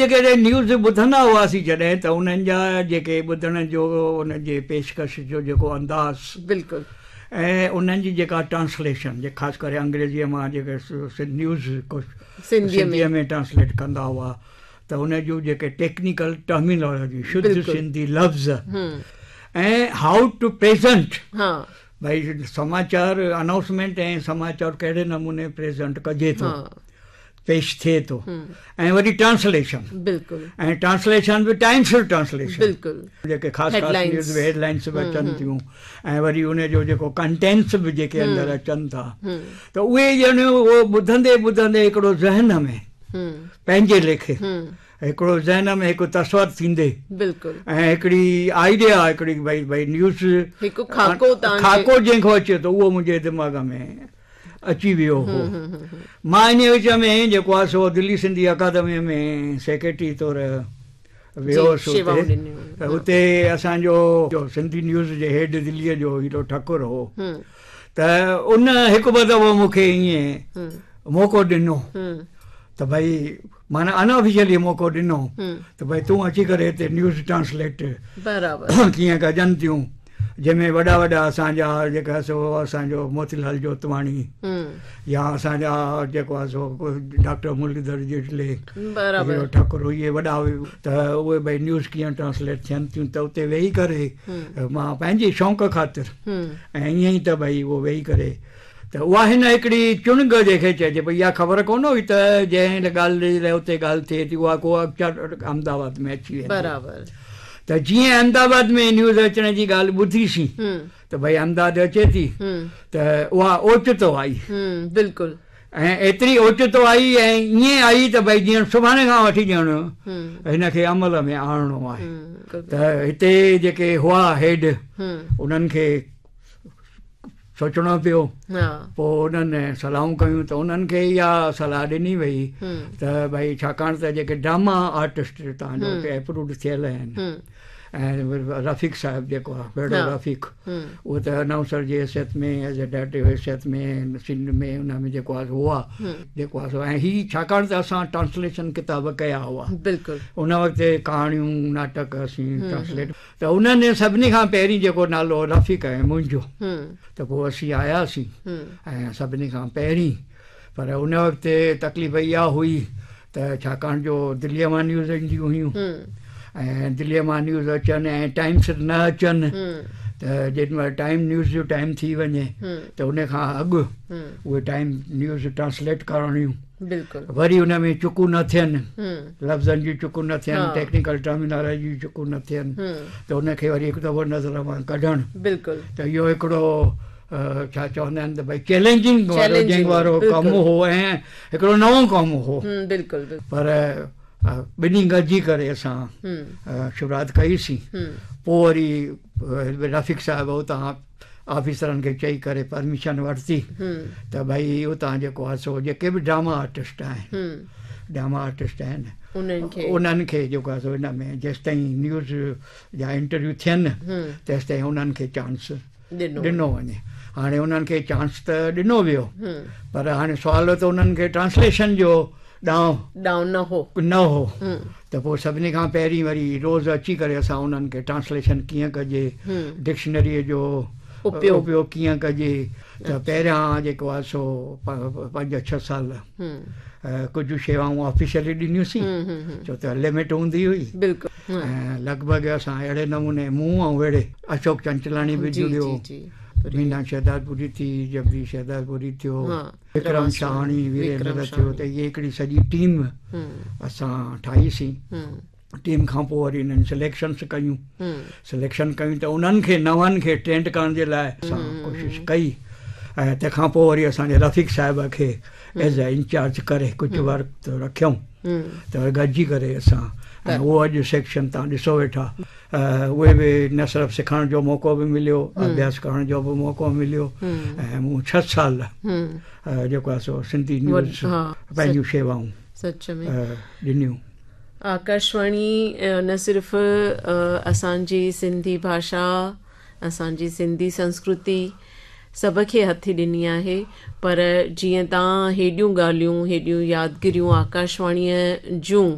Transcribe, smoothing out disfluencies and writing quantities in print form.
جيڪڏهن نيوز ٻڌندا هئاسين جڏهن ته انهن جا جيڪي ٻڌڻ جو ان جي پيشڪش جو جيڪو انداز بلڪل ۽ انهن جي جيڪا ٽرانسليشن جي خاص ڪري انگريزيء مان جيڪي نيوز سنڌيء ۾ ٽرانسليٽ ڪندا هئا ته ان جون جيڪي ٽيڪنيڪل ٽرمينالاجي شڌ سنڌي لفظ ۽ how two present ڀئي سماچار انائونسمينٽ ۽ سماچار ڪهڙي نموني پريزنٽ ڪجي ٿو پيش ٿئي ٿو ۽ وري ٽرانسليشن بلڪل ۽ ٽرانسليشن به ٽائيم سر ٽرانسليشن بلڪل جيڪي خاص خاص نيوز به هيڊ لائنس به اچن ٿيون ۽ وري ان جو جيڪو ڪنٽينٽس به جيڪي اندر اچن ٿا ته اهي ڄڻ اهو ٻڌندي ٻڌندي هڪڙو ذهن ۾ پنهنجي ليکي هڪڙو ذهن ۾ هڪ تصور ٿيندي بلڪل ۽ هڪڙي آئيڊيا هڪڙي ڀئي ڀئي نيوز هڪ خاڪو خاڪو جنهن کان اچي ٿو اهو منهنجي دماغ ۾ اچي ويو هو. مان انهيء وچ ۾ جيڪو آهي سو دلي سنڌي اڪادميء ۾ سيڪريٽري طور ويو هوس اتي ته اتي اسان جو سنڌي نيوز جي هيڊ دليء جو هيرو ٺڪر هو ته ان هڪ ٻه دفعو مون کي ائين موقعو ڏنو ته ڀئي معنيٰ ان آفيشلي موقعو ڏنو ته ڀئي تون اچي ڪري هتي نيوز ٽرانسليٽ ڪيئن ڪجن ٿيون جنهن ۾ وڏا وڏا اسان جا جيڪا سو اسان جو موتي لال جوتواڻي يا اسان جا جيڪو آهي سو ڊاڪٽر مرليڌر جيٽلي هيرو ٺڪر اهي وڏا ته اهي ڀئي نيوز ڪيئن ٽرانسليٽ ٿين ٿيون ته اتي ويهي ڪري مان پنهنجي شوق خاطر ۽ ائين ئي ته ڀئي اهو ويهي ڪري ته اها هن هڪڙي چڻنگ جنهن کي چئجي پئي اها خبر ڪونه هئي ته جنهن ڳالهه جي لاء اتي ڳالهه ٿئي ٿي اها ڪو احمد آباد ۾ اچي ويندي. برابر. ته جيئن احمد آباد ۾ نيوز اچڻ جي ڳالهه ٻڌيسين ته ڀئي احمد آباد اچي ٿي ته اها اوچتو آئي. بلڪل. ۽ ايتري اوچتو آئي ۽ ائين آئي ته ڀئي جيئن سڀاڻي کان وٺي ڄڻ هن کي عمل ۾ آڻڻو آهي ته هتي جيڪي هئا هيڊ انهن کي سوچڻو پيو. پوء انهن صلاحون ڪيون ته انهن کي اها صلاح ڏني وئي ته ڀئي ڇاڪاڻ ته جيڪي ڊراما آرٽسٽ توهان جو اتي اپرووڊ ٿيل آهن ۽ رفيق صاحب جيڪو آهي ٻيڙو رفيق اهو ته انائونسر جي حيثيت ۾ ايز اي ڊائريڪٽر جي حيثيت ۾ سنڌ ۾ ان ۾ جيڪو آهي سو هئا جيڪو آهي سو ۽ هي ڇاڪاڻ ته اسان ٽرانسليشن ڪتاب ڪيا هئا بلڪل ان وقت ڪهاڻيون ناٽڪ اسين ٽرانسليٽ ته انهن سڀني کان پهرين جيڪو نالو هو رفيق ۽ منهنجو ته پوء اسين آياسين ۽ سڀني کان پهرين پر ان وقت تڪليف اها هئي ته ڇاڪاڻ جو دليء مان نيوز اينديون هيون ۽ دليء مان نيوز اچن ۽ ٽائيم سر نه اچن ته جيڏي مهل ٽائيم نيوز جو ٽائيم ٿي وڃي ته ان کان اڳ اهي ٽائيم نيوز ٽرانسليٽ ڪرڻيون بلڪل وري ان ۾ چڪون نه ٿين لفظن جون چڪون نه ٿين ٽيڪنيڪل ٽرمينالاجي جون چڪون نه ٿين ته ان کي وري هڪ دفعو نظر مان ڪڍڻ بلڪل ته اهو هڪڙو ڇا چوندا آهن ته ڀئي چئلينجنگ وارو جنگ وارو ڪم هو ۽ هڪڙو نئون ڪم هو بلڪل پر ٻنهي گڏجي ڪري اسان شروعات ڪئي سين پوء وري رفيق صاحب اتان آفيسرن کي چئي ڪري پرميشن ورتي ته ڀئي اتان جيڪو آهي سو جيڪي به ڊراما آرٽسٽ آهن ڊراما آرٽسٽ آهن انهن کي جيڪو آهي سو ان ۾ جيستائين نيوز جا انٽرويو ٿين تيستائين انهن کي چانس ڏنو وڃي هاڻي انهن کي چانس ته ڏنو ويو پر هاڻي سوال ته انهن کي ٽرانسليشن جو ڏانء ڏانء نه هو. نه هو ته پوء سڀني کان پهرين وري روز اچي ڪري اسان انهن کي ٽرانسليشن ڪيئن ڪجي، ڊڪشنريء جو اپيوگ ڪيئن ڪجي ته پهريان جيڪو آهي سو پنج ڇهه سال ڪجهه شيوائون آفيشلي ڏنيونسين ڇو ته لمٽ هوندي هئي ۽ لڳ ڀڳ اسان اهڙي نموني مون ۽ اهڙي اشوڪ چنچلاڻي به جڙيو، مينا شهدادپوري ٿي، جگديش شهدادپوري ٿيو. وڪرم شاهاڻي، ويريندر ٿيو ته اهي هڪڙي سڄي ٽيم اسان ٺاهي سين. ٽيم کان پوء وري انهن سليڪشنس ڪيون. سليڪشن ڪيون ته انهن کي نون کي ٽرينڊ ڪرڻ جي لاء اسان ڪوشش ڪئي ۽ تنهن کان پوء وري اسان جي رفيق صاحب کي ايز اي انچارج ڪري ڪجهه وقت رکيائون ته گڏجي ڪري اسان ۽ اهو اڄ سيڪشن تان ڏسو ويٺا اهي به نه صرف سکڻ جو موقعو به مليو اڀياس ڪرڻ جو به موقعو مليو ۽ مون ڇهه سال جيڪو آهي سو سنڌي نيوز پنهنجون شيوائون سچ ۾ ڏنيون. آڪاشواڻي نه صرف اسان جي سنڌي ڀاشا اسان جي سنڌي سنسڪرتي سڀ کي هٿي ڏني آهي پر جيئن تان هيڏيون ڳالهيون هيڏيون يادگيريون آڪاشواڻيء جون.